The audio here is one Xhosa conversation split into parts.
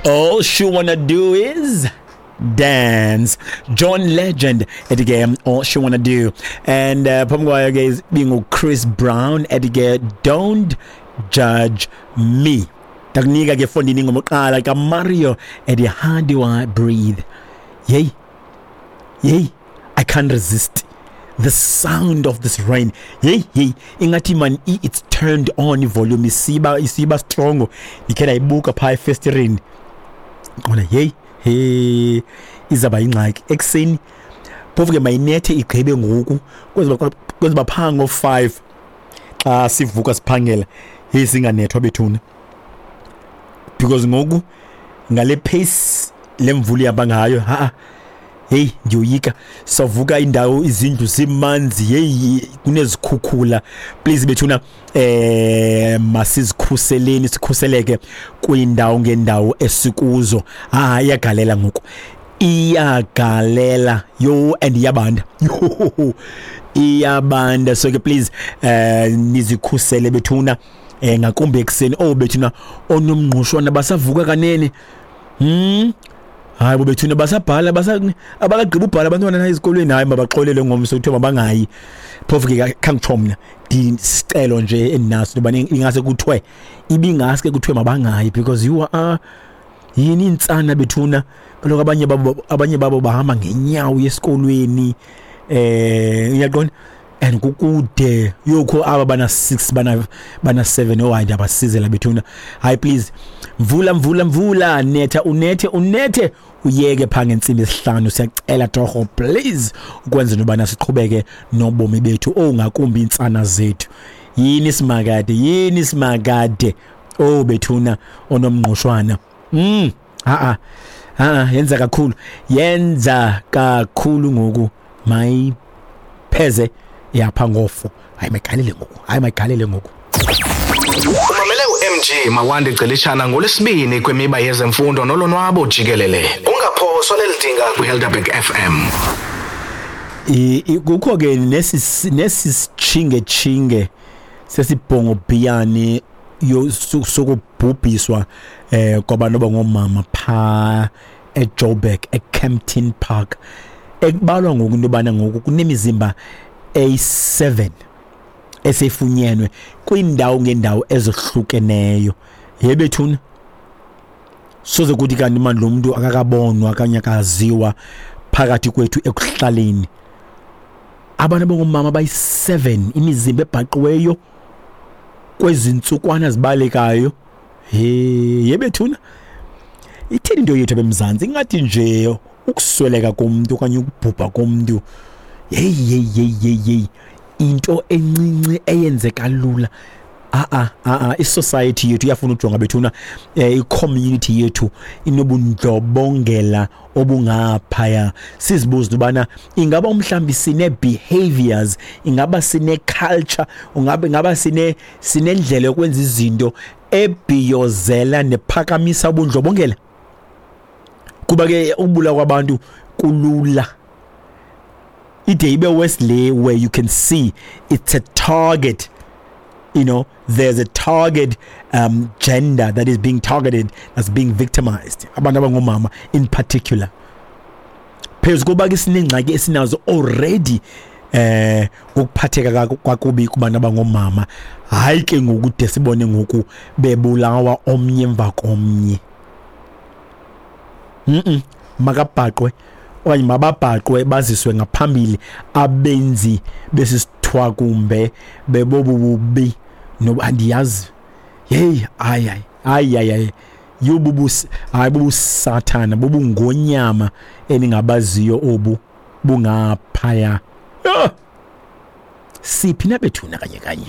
All she wanna do is dance. John Legend ethi ke "All She Wanna Do", and phambi kwayo ke bingu Chris Brown ethi ke "Don't Judge Me". Ndakunika ke fondini ingoma oqala kaMario ethi "How Do I Breathe". Yey, yey, I can't resist the sound of this rain. Hey, hey, ingathi man it's turned on, volume isiba strong. Ndikhe ndayibuka phaa efestireni, qona hey, hey, izaba ingxaki ekuseni. Phofu ke mayinethe igqibe ngoku, kwenza phaa ngo-5 xa sivuka siphangela, hey, singanethwa bethuna, because ngoku ngale pace lemvula ihamba ngayo, ha, hey, ndiyoyika savuka indawo izindlu zimanzi, hey, kunezikhukhula. Please bethuna, masizikhuseleni, sikhuseleke kwindawo ngendawo esikuzo. Ah, iyagalela ngoku, iyagalela yo, and iyabanda yo, iyabanda. So ke please, nizikhusele bethuna, ngakumbi ekuseni. Oh bethuna, onomngqushwana basavuka kanene. Hayi bo bethuna, basabhala, basa abakagqiba ubhala abantwana na ezikolweni. Hayi, mabaxolele ngomso, kuthiwa mabangayi. Phofu ke khangitsho mna, ndisicelo nje endinaso ngoba ingase kuthiwe, ibingaske kuthiwe mabangayi, because you are yini intsana bethuna. Kaloku abanye babo bahamba ngenyawo esikolweni, uyaqonda, and kukude yokho aba bana 6, bana 7. Oh hayi, ndiyabasizela bethuna. Hayi please, mvula, mvula, mvula, netha, unethe, unethe, uyeke phaa ngentsimbi esihlanu, siyacela torho, please, ukwenzela ubana siqhubeke nobomi bethu. Oh, ngakumbi iintsana zethu. Yini simakade, yini simakade. Oh bethuna, onomngqushwana, ha ha, yenza kakhulu, yenza kakhulu ngoku, mayipheze yapha ngofo. Hayi, mayigalele ngoku, hayi, mayigalele ngoku. Umamele uMG Mawande Celishana ngolwesibini kwimiba yezemfundo nolonwabo jikelele. Ungaphoswa lelidinga kwiHelderberg FM. Kukho ke nesi sichinge sesibhongobhiyane sokubhubhiswa kwabantu abangomama pha eJoburg, eKempton Park, ekubalwa ngoku into yobana ngoku kunemizimba eyi-7 esefunyenwe kwiindawo ngendawo ezohlukeneyo. Yebethuna, soze kuthi kanti mani lo mntu akakabonwa okanye akaziwa phakathi kwethu ekuhlaleni. Abantu abangomama bayi-7, imizimba ebhaqiweyo kwezi ntsukwana zibalekayo. He, yebethuna, ithini into yethu abemzantsi? Ingathi nje ukusweleka komntu okanye ukubhubha komntu, hey, hey, hey, hey, hey, into encinci eyenzeka lula. A a a isociety yethu iyafuna ujonga bethuna. I-community yethu inobundlobongela obungaphaya. Sizibuza ubana ingaba umhlambi sine behaviors, ingaba sine culture, ingaba sinendlela yokwenza izinto ebhiyozela nephakamisa ubundlobongela, kuba ke ukubulawa kwabantu kulula, ide ibe worse le where you can see it's a target. There's a target gender that is being targeted, that's being victimized, abantu abangomama in particular. Phezu koba ke sinengxaki esinazo already ukuphatheka kwakubi kubantu abangomama, hayi ke ngoku de sibone ngoku bebulawa omnye emva komnye. Makabhaqwe okanye mababhaqwe, baziswe ngaphambili abenzi besisithwakumbe bebobu bubi noba andiyazi. Hey, hayi, hayi, hayi, hayi, hayi, yobubus, hayi, bubusathana, bubungonyama eningabaziyo obu bungaphaya. Ah! Siphi nabethuna kanye kanye?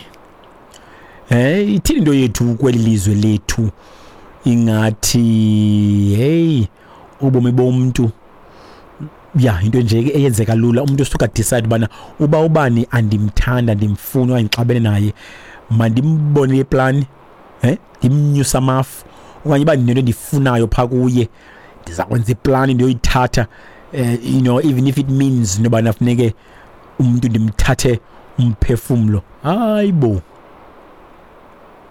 Ithini into yethu kweli lizwe lethu? Ingathi hey, ubomi bomntu ya into nje ke eyenzeka lula. Umuntu usuka decide bana uba ubani andimthanda, ndimfuna okanye ndixabene naye, mandimbonele iplan, ndimnyusa amafu, okanye uba ndinento endifunayo phaa kuye, ndiza kwenza iplani ndiyoyithatha, even if it means nobana funeke umuntu ndimthathe umphefumlo. Hayi bo,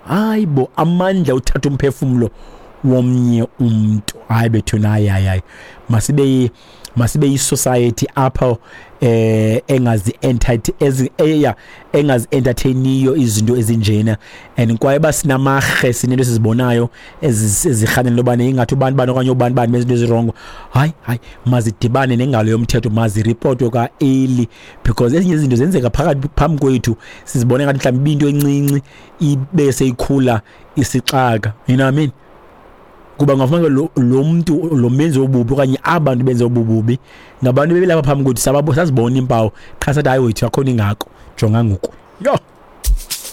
hayi bo, amandla uthatha umphefumlo womnye umntu. Hayi bethuna, hayi hayi hayi, masibe yi-society apho engazi-entertainiyo izinto ezinjena. And kwaye uba sinamarhe, sinento esizibonayo ezirhanela into yobana ingathi ubani bani okanye ubani bani benza into ezirongo, hayi hayi, mazidibane nengalo yomthetho, maziripotwe kwa-early, because ezinye izinto zenzeka phakathi phambi kwethu, sizibone ngathi mhlawumbi ibinto encinci, ibe seyikhula isixaka, you know what I mean? Kuba ungafumanisa lo mntu lo menzi wobubi okanye abantu benze obububi ngabantu bebelapha phambi kwethu, sazibona iimpawu qha sathi hayi wethu akho nto ingako, jonga ngoku. Yho!